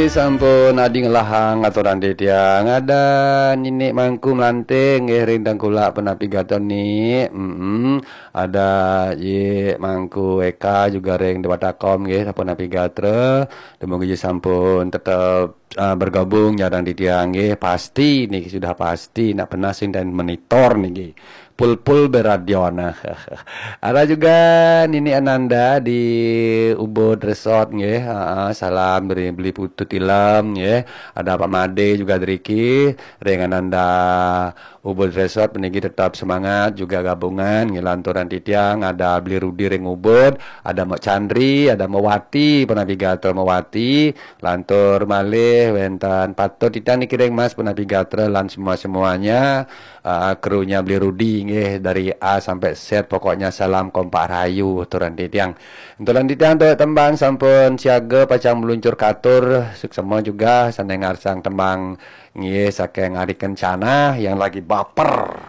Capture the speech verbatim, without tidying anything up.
Sampun adi ngelahang aturan titiang. Ada Ninik Mangku Melanting nggih ring Tengkulak punapi gatra Nik. Mm-mm. Ada Yik Mangku Eka juga ring Dewata Kom nggih sampun napi gatra. Dumugi sampun tetep uh, bergabung sareng titiang nggih. Pasti niki sudah pasti nak pernah sing dan monitor niki. Pul-pul beradion. Ada juga Nini Ananda di Ubud Resort nggih. Ha, salam dari Beli Putu Tilam nggih. Ada Pak Made juga driki ring Ananda Ubud Resort puniki tetap semangat juga gabungan nggih lanturan titiang. Ada Beli Rudi ring Ubud, ada Mak Chandri, ada Mawati, punapi gatra Mawati, lantur malih wenten patut titiang niki ring Mas punapi gatra lan semua-semuanya. Uh, krunya Beli Rudi nggih dari A sampai Z, pokoknya salam kompak rayu aturan titiang. Aturan titiang untuk tembang sampun siaga pacang meluncur katur, suksema juga sane ngarsang tembang nggih saking Ari Kencana yang lagi baper.